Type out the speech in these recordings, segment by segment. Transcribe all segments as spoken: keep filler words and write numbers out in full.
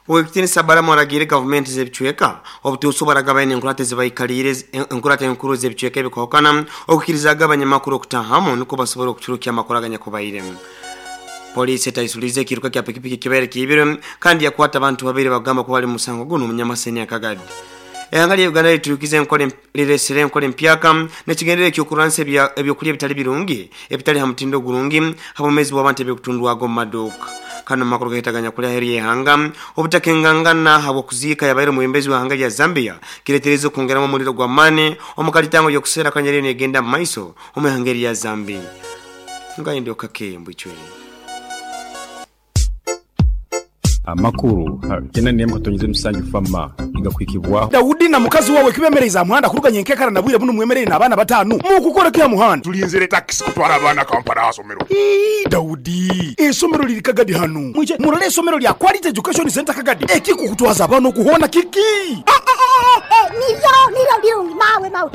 Owekitinisa Balamu aragire gavumenti z'ebicweka obutuusa baragabanya enkurate zibaikalire enkurate enkuru z'ebicweka ebikahukana okukirizaga abanyamakuru okutahamu niko basobora okucurukia amakuru aganyakubairemu. Polisi etaisulize ekiruka kya pikipiki kibaire kiibire kandi yakwata abantu babiri bagamba kuba bali musango guno omunyamaseni akagadi. Ehanga lya Uganda liturukize enkole liresere enkole empyaka nekigendere ekyokuransa ebyokulya ebitali birungi ebitali ha mutindo gurungi habomezi bw'abantu ebyokutundwago mu maduuka. Kano makuru gahetaganya kulya heri yehanga obutakengangana habwokuziika yabaire omwembezi wa hanga lya Zambia kiretereza okwongeramu omuliro gwa mane omukalitango yokusera kanyere negenda mu maiso omu hanga lya Zambia. Ngaende okakembo ichwe. Amakuru kena niyamka tonyize musanju fama igakwikibwa Daudi na mukazi wawe kibemereza muhanda kuruganya enkekara na bwire buno mwemerere n'abana batanu mukukora kya muhanda tulinzire taxi kutwara abana Kampala asomero. Ii Daudi esomero liri Kagadi hanu mwije murole esomero lya Quality Education Center Kagadi ekikukutwaza abana okuhona kiki nivyo nivyo birungi mawe mawe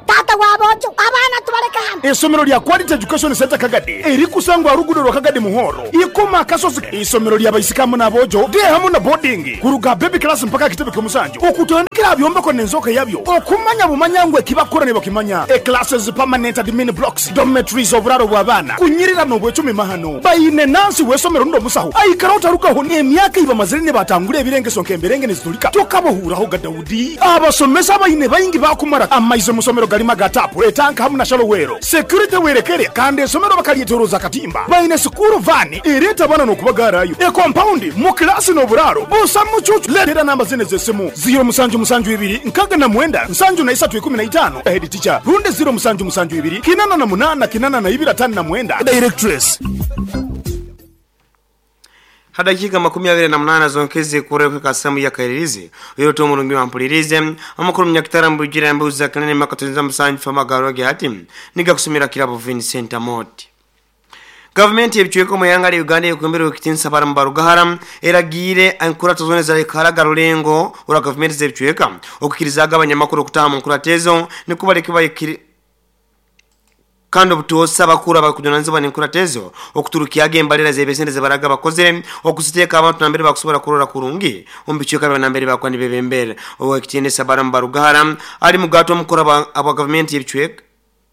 tata wabojo abana tubaleka hano. Esomero lya Quality Education Center Kagadi erikusangwa rugudo rwa Kagadi Muhoro ikoma kasozi isomero lya baisikamu nabojo de hamu na boarding kuruga baby class mpaka kitebe kyomusanju okutandikira byombeko nenzoka yabyo okumanya bumanyangwe kibakora ne bakimanya e classes permanent admin blocks dormitories oburaro bw'abana kunyirira no bwecumi mahano bayine nansi wesomero ndo musaho aikara utarukaho ne emyaka iba mazire ne batangure ebirengeso nkemberenge nezitulika tokabohuraho ga Daudi abasomesa bayine bayingi bakumara amaizo musomero galima gatapu etanka hamu na shalowero security werekere kandi esomero bakalietoroza katimba bayine sukuru vani ireta bana no kubagarayo e compound mu class no buraro busa mucucu letera namba zine zesimu zero musanju musanju ibiri nkaga na mwenda nsanju na isatu ikumi na itano head teacher runde zero musanju musanju ibiri kinana na munana kinana na ibira tano na mwenda directress. Hadakika makumi abiri na munana zonkeze kureka kasamu ya kairirizi uyo to murungi wampulirize amakuru mnyakitara mbujira mbuza kanene makatunza musanju fama garoge hati niga kusumira kirabo Vincent Amoti. Government yebichweko mu yanga ya Uganda yokwembera okitinsa barambarugahara eragire enkurato zone za karaga rulengo ura government zebichweka okukirizaga abanyamakuru okutaha mu nkuratezo nikubaleke bayikiri kandi obutosa bakura bakujunanizibwa n'enkuratezo okuturukiyaga embalira z'ebesente zebaraga bakozere okusiteeka abantu nambere bakusobola kurora kurungi omu bicweka bya nambere bakwa nibebembera. Owekitinisa barambarugahara ali mugato omukuru aba government yebichweka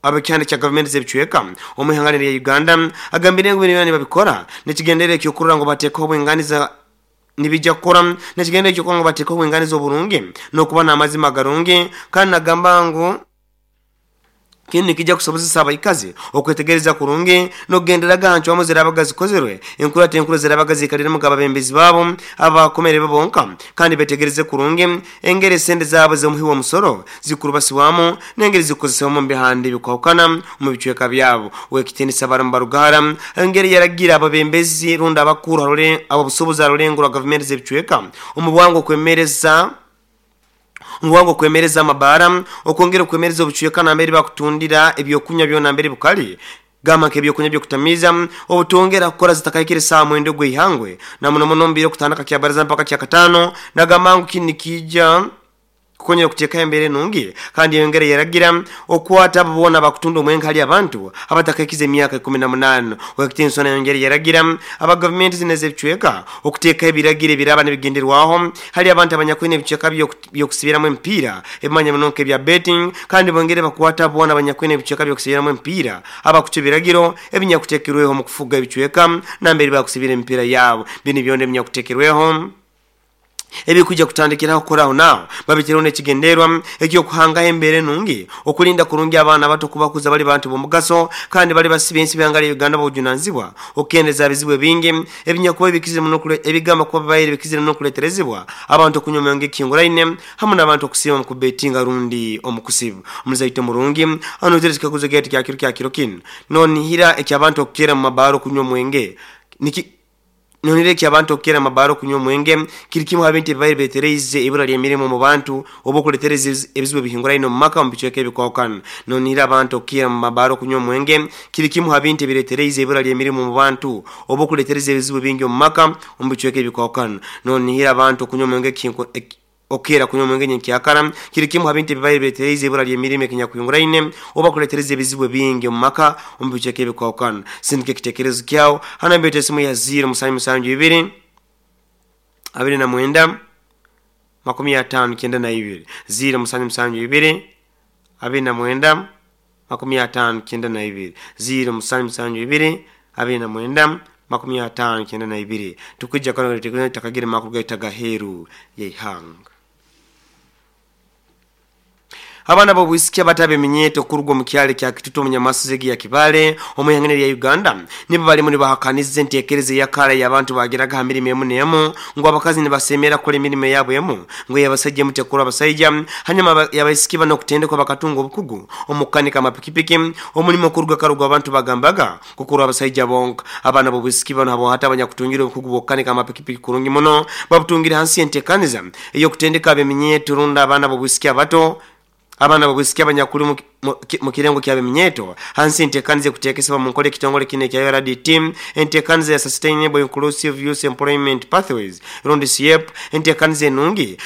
abakyanda kya government zebicweka omu ihanga lya Uganda agambire ngu bino babikora nekigendere ekyokurora ngo bateekaho obwenganiza nibijja kukora nekigendere ekyokurora ngo bateekaho obwenganiza oburungi n'okuba n'amazima garungi kandi nagamba ngu kini nikijja kusobozesa abaikazi okwetegereza kurungi n'okugenderaga hantu wamu zirabaga zikozerwe enkurate enkuru zirabaga zikaliremu ababembezi baabo abakomere bonka kandi betegereze kurungi engeri esente zaabo z'omuhi w'omusoro zikurubasibwamu n'engeri zikozesebwamu mu bihanda ebikwahukana mu bicweka byabo. Owekitinisa barambarugahara engeri yaragira ababembezi rundi abakuru ababusobozi arulengo rwa gavumenti z'ebicweka omu bwangu okwemereza Ngwango kwemereza amabara okwongera okwemereza obucweka nambere bakutundira ebyokunywa byona mbere bukali gama ke ebyokunywa byokutamiza obutongera kukora zitakaikire saa mwendo gw'ihangwe na muno muno mbire okutandika kya baraza mpaka kya katano nagamba ngu kini kijja kukonyera okuteeka embere nungi kandi yongere yaragira okwata abona bakutunda omwenka hali abantu abatakaikize emyaka ikumi na munana. Owekitinisa yongere yaragira aba government zine z'ebicweka okuteeka ebiragiro ebiraba nebigenderwaho hali abantu abanyakwine ebicweka byokusibiramu emipiira ebimanya munonka ebya betting kandi bongere bakwata abona abanyakwine ebicweka byokusibiramu emipiira abakuca ebiragiro ebinyakutekerweho mu kufuga ebicweka nambere bakusibira emipiira yabo bino byona ebinyakutekerweho ebikujja kutandikiraho kukoraho nao babitereho n'ekigenderwa ekyokuhanga embere nungi okulinda kurungi abaana bato kubakuza bali bantu b'omugaso kandi bali basiba ensi byanga lya Uganda bobujunanizibwa okukendeza ebizibu ebingi ebinyakuba ebikizire muno ebigamba kuba bibaire bikizire muno okuleeterezebwa abantu okunywa omwenge ekihinguraine hamu n'abantu okusiiba mu kubetinga rundi omukusibu. Omuzaito murungi anotere ekikaguzo gyaitu kya kiro kya kiro kinu nonihira ekyabantu okukera mu mabaaro okunywa omwenge niki nonire ki abantu okukera mabaro kunywa omwenge kiri kimu habintu ebibaire betereize ibura ly'emirimu mu bantu oba okuletereza ebizibu ebihinguraine omu maka omu bicweka ebikwahukana. Nonire abantu okukera mu mabaro kunywa omwenge kiri kimu habintu ebiretereize ibura ly'emirimu mu bantu oba okuletereza ebizibu bingi omu maka omu bicweka ebikwahukana. Nonihira abantu okunywa omwenge okera kunywa omwenge nyenkyakara kiri kimu habintu ebibaire betereize ibura ly'emirimu ekinyakuyunguraine oba kuletereza ebizibu bingi omu maka omu bicweka ebikwahukana. Sindika ekitekerezo kyawo hano mbete esimu ya zero musanju musanju ibiri abiri na mwenda makumi atano kyenda na ibiri ziro musanju musanju ibiri abiri na mwenda makumi atano kyenda na ibiri ziro musanju musanju ibiri abiri na mwenda makumi atano kyenda na ibiri. Tukujja kano takagira makuru gaita gaheru yeihanga. Abana b'obwisiki abatabe minyeto kurugwa mu kyalo kya Kitutu mu Nyamasuzegi ya Kibale omuyangene ya Uganda nibo balimu nibahakaniza enteekereza yakala y'abantu bagiraga mirimo emu n'emu ngo abakazi nibasemera kola emirimo yabo emu ngo yabasajja mutekura abasajja hanyuma yabaisiki bano kutendekwa bakatunga obukugu omukanika amapikipiki omulimo kuruga karugwa abantu bagambaga kukura abasajja bonka. Abana b'obwisiki bano abo hata abanyakutungira obukugu bw'okukanika amapikipiki kurungi muno babutungira hansi enteekaniza ey'okutendeka abeminyeto runda abana b'obwisiki abato abana babwisikia abanyakuli mu kirengo kya biminyeto hansi enteekaniza kutekesebwa mu nkola ekitongole kino ekya U R D T enteekaniza ya Sustainable Inclusive Youth Employment Pathways rundi S I E P enteekaniza enungi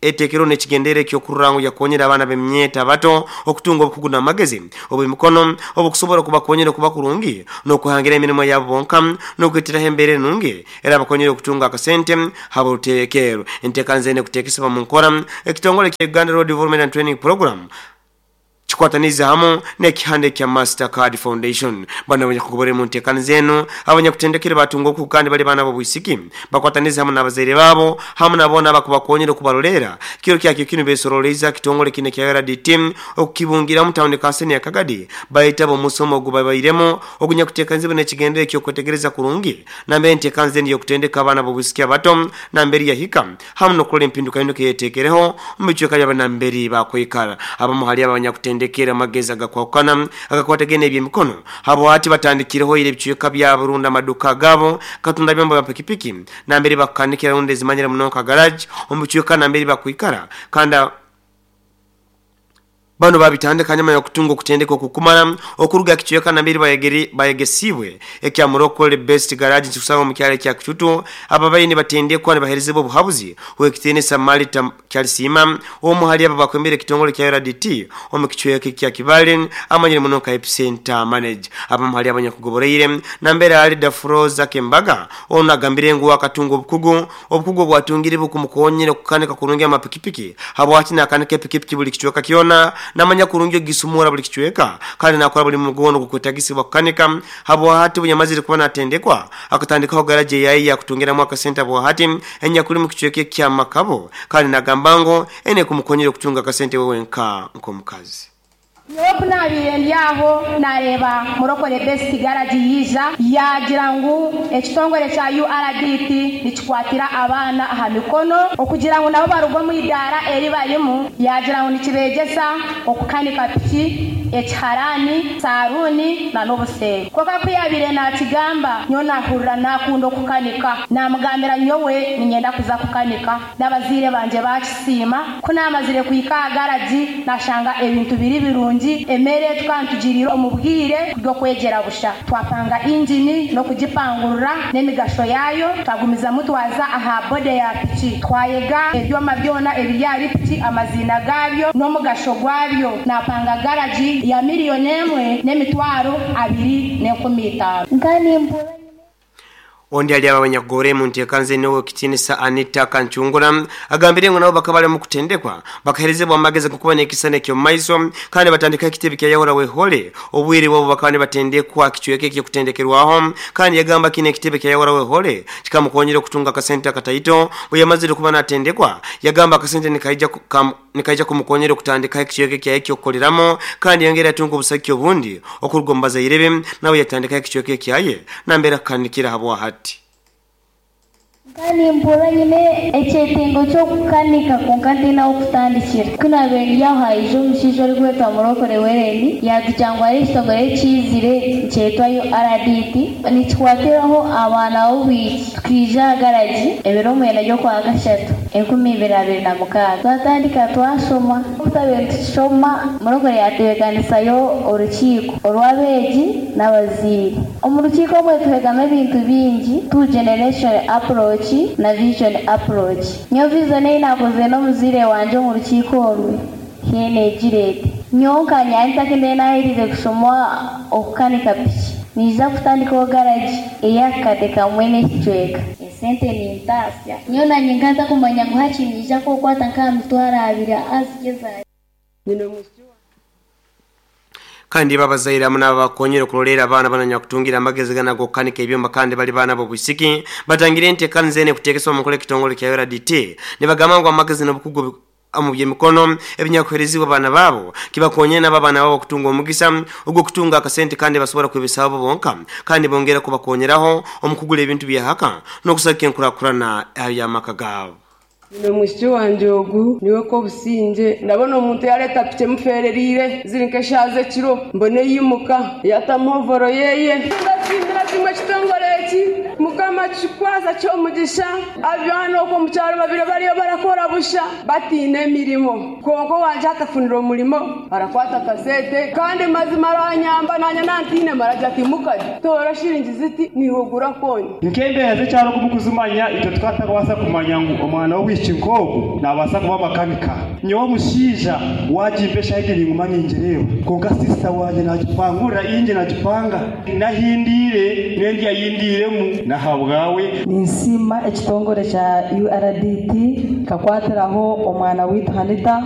etekero n'ekigendere ekyokurura yakonyera abaana b'eminyeto abato okutunga obukugu n'amagezi obw'emikono obukusobola kubakonyera okuba kurungi n'okuhangira emirimu yabo bonka n'okweteraho embeera enungi era bakonyera okutunga akasente habuteekero. Enteekaniza eno kutekesebwa mu nkola ekitongole kya Uganda Road Development and Training Program chikwataniza hamu n'ekihande kya Mastercard Foundation. Bana abanyakugobora mu nteekaniza eno abanyakutendekere batunga okuku kandi bali baana b'obwisiki bakwataniza hamu n'abazaire baabo hamu nabona abakubakonyera okubarolera kiro kyakyo kino besoroleza kitongole kino kya U R D T okukibungira mu tawuni kanseni ya Kagadi bayitaba omusomo ogubabairemu ogunyakuteekanizibwa n'ekigendere eky'okwetegereza kurungi nambere enteekaniza eno y'okutendeka abaana b'obwisiki abato nambere yahika hamu n'okukola empindukahinduka eyeteekereho mu bicweka by'abanamberi bakwikara. Abamu hali abanyakutendeka kera amagezi agakwakana agakwatagene ebyemikono habo ati batandikireho ile bicweka bya Burundi amaduka gabo katunda byombo bya pikipiki nambere bakanikira runde zimanyira munonka garage omu bicweka nambere bakwikara kanda bano babitandika nyuma ya kutunga okutendeka okukumala okuruga kichweka nambere bayegeri bayegesibwe ekya Morocco Best Garage nkusanga mu kyalo kya Kitutu ababayini batendekwa ne baherezebwa obuhabuzi wekitene Samarita Kyalisima omu hali aba bakwembere kitongole kya U R D T omu kichweka kya Kibale amanyire munonka epicenter manager abamu hali abanyakugoboreire nambere ali Dafroza Kembaga ono agambire ngu akatunga obukugu obukugu bwatungire bukumukonyere kukanika kurungi amapikipiki habo ati nakanika epikipiki buli kichweka kyona namanya kurungi gisumura buli kichweka kandi nakora buli mugono kukwetagisibwa kukanika habo hati bunyamazire kuba natendekwa akatandikaho garage yayi yakutungira mu akasenta bo hati enya kuli mu kichweka kya Makabo kandi nagambango ene kumukonyera kutunga akasente wewe nka nkomukazi. Nyowe nabire ndyaho nareba Murokore Best Garage yija yagira ngu ekitongole kya U R D T nikikwatira abaana aha mikono okugira ngu nabo barugwa mu idara eri barimu yagira ngu nikibegesa okukanika piki ekiharani saruni na n'obusenge. Kwonka ku yabire nakigamba nyowe nahurira nakunda okukanika namugambira nyowe ninyenda kuza kukanika n'abaziire banje bakisiima ku namazire kuhika aha garagi nashanga ebintu biri birungi emere tukantugirira omubwire bw'okwegyera busha twapanga injini n'okugipangurura n'emigasho yayo twagumizamu twaza aha bode ya piki twayega ebyoma byona ebiri ahari piki amazina gabyo n'omugasho gwabyo napanga garagi ya miliyoni emwe n'emitwaro abiri n'enkumi itaano. Ondi ali abanyagore mu nteekanze n'owo kitinisa Anita Kanchungura agambire ngo nabo bakabale mu kutendekwa bakaherezebwa amagezi kukuba n'ekisane kyo maiso kandi batandika ekitebe kya Yahora wehole obwire bwabo bakaba batendekwa kichweke kyo kutendekerwaho kandi yagamba kine ekitebe kya Yahora wehole kikamukonyera okutunga akasente akataito bwe yamazire kuba natendekwa yagamba akasente nikaija nikaija kumukonyera okutandika ekichweke kya ekyokukoleramo kandi yongera atunga obusaki obundi okurugombaza irebe nawe yatandika ekichweke kyaye nambera kanikira habo hati. Kandi mpura nyine ekyetengo ky'okukanika kwonka ntiine okutandikira ku naabaire ndi aho haija omushaija orikwetwa Murokore Wereni yatugira ngu hariho ekitongore ekiizire nikyetwa U R D T nikikwatiraho abaana b'obwiki tukaija aha garagi ebiro mwenda by'okwa kashatu enkumi ibiri abiri na mukaaga twatandika twashoma tutabaire nitukishoma Murokore yatebeekanisayo orukiiko orw'abeegi n'abazaire. Omu rukiiko omwe tuhegamu ebintu bingi two generation approach na vision approach. Nyowe vision ei nakoze n'omuzaire wangye omu rukiiko orwe hiine egira eti nyowe nkanyanya ntakende naherize kushoma okukanika piki niija kutandikaho garagi ey'akakade kamwe n'ekicweka. Sente nintaasya nyowe nanye nkaza kumanya ngu haki niija kukwata nk'aha mitwaro abiri azigeza. Kandi babazaire hamwe n'abakonyere okurolera abaana bananyakutungira amagezi gana g'okukanika ebyoma kandi bali baana b'obwisiki batangire enteekaniza zene kuteekesebwa mu nkola ekitongole kya U R D T nibagamba ngu amagezi n'obukugu omu by'emikono ebinyakuheerezibwa abaana baabo kibakonyere nabo abaana baabo okutunga omugisa ogw'okutunga akasente kandi basobora kwebesaho bonka kandi bongera kubakonyeraho omu kugura ebintu byahaka n'okusaka enkurakurana y'amaka gaabo. Nino mwishiki wanje ogu niwe ko businje ndabona omuntu yareta pike mufererire ziri nk'eshaze kiro mbone yimuka yatamuhovoro yeye ndashimira kimwe kitongore eki mukama kikwaza ky'omugisha abyana okwo mu kyaro babiri bariyo barakora busha batiine emirimo konko wanje atafunira omurimo arakwata kasete kandi mazima aranyamba nanya nantine maraja ati mukaji tora shiringi ziti nihugura konye nkembeera z'ekyaro kumukuzimanya itwe tukatakwasa kumanya ngu omwana w'obwishiki nk'ogu nabaasa kuba makanika nyowe omushaija wagimpesha higi ninguma ningireeba konka sisita wanje nagipangurira inje nagipanga nahindiire nendya yindiiremu nahabwawe. Ninsiima ekitongore kya U R D T kakwatiraho omwana witu Hanita.